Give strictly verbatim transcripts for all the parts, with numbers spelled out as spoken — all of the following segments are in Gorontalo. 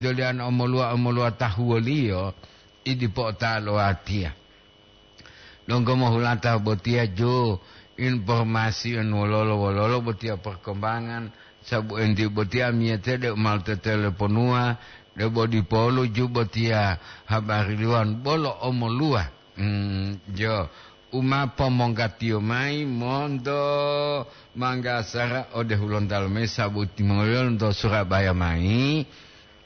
jolian omoluwa-omoluwa tahuwoliyo, i dipo ota lo watiya. Donggo mohulata botiya jo informasi en wololo-wololo botiya perkembangan, sabu enti botiya amiyate de umal teteleponuwa, de bo dipolu ju botiya habari liwan bolo omoluwa. Hmm, jo, uma pomonggatiyo mayi monto Manggasara ode Hulontalo mayi sabu timongoliyo lonto Surabaya mayi.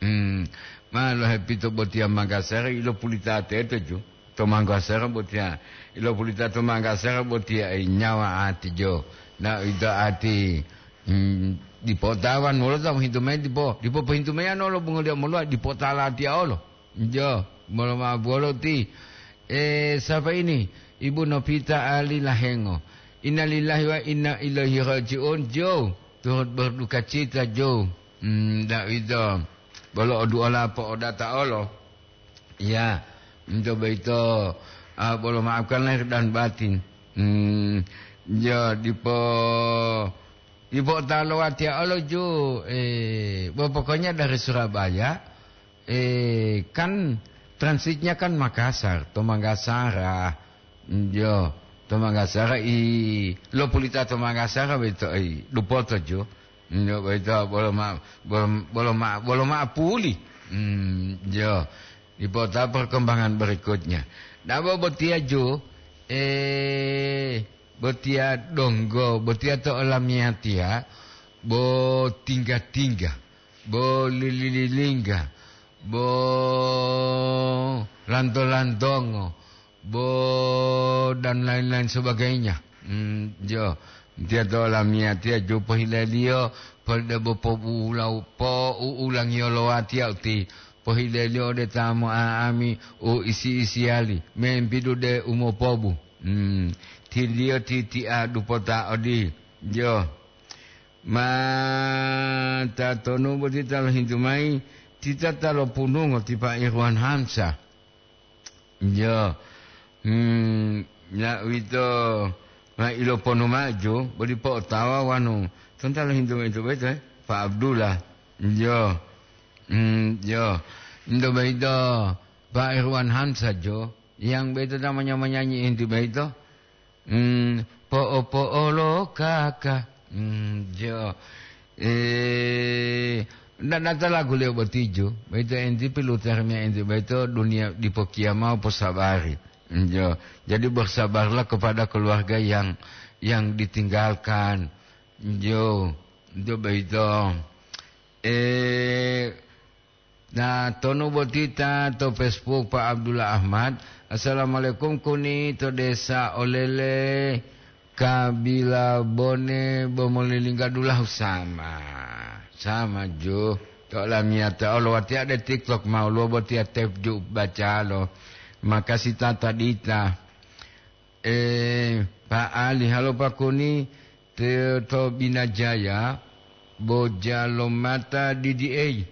Hmm, ma lohepito botiya Manggasara ilopulita teto ju. To Manggasara botiya, ilopulita to Manggasara botiya, eh, nyawa ati jo. Na ito ati, hmm, dipotawan wolo ta mohintu mayi dipo, dipo pohintu mayi ano lo bungoliyo moluwa dipotala atiya olo. Jo, molo ma'o bolo ti. Eh, sapa ini? Ibu Novita Ali Lahengo. Innalillahi wa inna ilaihi raji'un, jo. Turut berduka cita, jo. Hmm, ndak ito. Bolo oduola po'odata olo. Ya, ento boyito, ah, bolo maafkan lahir dan batin. Hmm, ya, dipo, dipo ta lowatiya olo ju, eh, bo pokoknya dari Surabaya, eh, kan transitnya kan Makassar, to Manggasara. Yo, to Manggasara i lopulita to Manggasara boyito, i dupoto ju. Yo, boyito bolo ma, bolo, bolo ma, bolo ma puli. Hmm, yo, dipo ta perkembangan berikutnya. Dabo botiya ju, eh, botiya donggo, botiya to olamiyatiya, bo tingga-tingga, bo lili-lilingga, bo lanto-lantongo, bo dan lain-lain sebagainya. Hmm, jo, tiya to olamiyatiya ju pohileliyo, pol debo pobulau-, pouulangiyo lo watiya uti, pohileliyo ode ta mo'a'ami u isi-isiyali, membidu de umopobu. Hmm, tiliyo titi'a dupota odi, jo. Ma tatonu boti ta lohintu mayi, tita ta lopunungo ti Pa Irwan Hamsa. Jo. Hmm, ya uwito ma iloponu maju, bodi po'otawa wanu. Tonta lohintu mayi to boyito, eh? Pa Abdullah. Jo. Hmm, jo. Ento boyito Pa Irwan Hamsa, jo. Yang boyito ta manya-manyanyi enti boyito. Hmm, po'o-po'olo kaka. Hmm, jo. Eh, nda-, nata lagu leo botiju. Boyito enti pilutarimiya enti boyito duniya dipo kiyama posabari. Hmm, jo. Jadi bersabarlah kepada keluarga yang, yang ditinggalkan. Jo. Itu boyito. Eh, Na tonu boti ta to Facebook, Pak Abdullah Ahmad. "Assalamualaikum, kuni to desa Olele, Kabila Bone, Bomolilingga dulahu sama." Sama ju. To lamiyata olo watiya de TikTok mau luo botiya tep ju bacalo. Makasi tata dita. Eh, Pak Ali, halo Pak Kuni, te-, to Binajaya, bo jalomata didi'ei.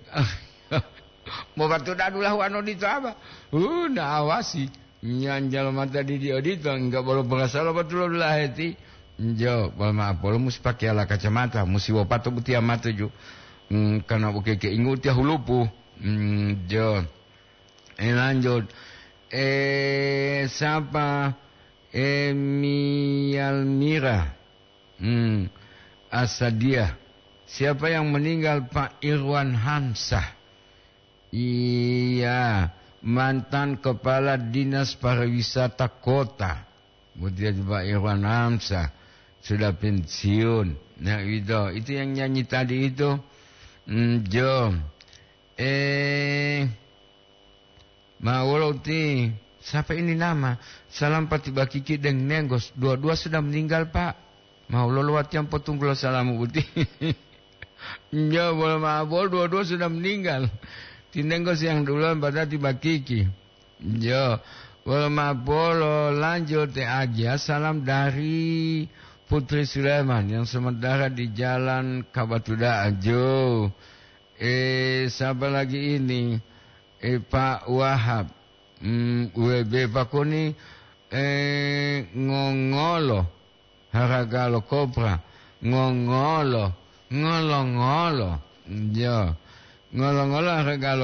Mo patuda dulahu ano dito aba? Uh, na awasi. Nyan jalomata didi odito, enggak bolo pengasalo betul laheti. Jo, bolo maaf, bolo musi pakai ala kacamata, musi wopato butia mata ju. Hmm, karena buke ke ingu tia hulupu. Hmm, jo. Eh, lanjut. Eh, siapa? Emi Almira. Hmm, Asadia. Siapa yang meninggal, Pak Irwan Hamsah? Iya, mantan kepala dinas pariwisata kota. Kemudian Pak Irwan Hamsah sudah pensiun. Nah, itu, itu yang nyanyi tadi itu. Hmm, Jo. Eh, Ma wolo uti, sapa ini nama? Salam pati bakiki deng nenggos, dua-dua sudah meninggal, Pak. Ma wolo lo watiam potunggulo salamu uti. Nyo, bolo ma bolo dua-dua sudah meninggal. Ti nenggos yang duluan pada ti bakiki. Nyo, bolo ma bolo lanjut te agia. Salam dari Putri Sulaiman yang sementara di Jalan Kabatuda Ajo. Eh, sapa lagi ini? Eh, Pak Wahab. Hmm, W B Pakuni, eh, ngongolo haraga lo kopra. Ngongolo, ngolo-ngolo. Yo. Ngolo-ngolo haraga lo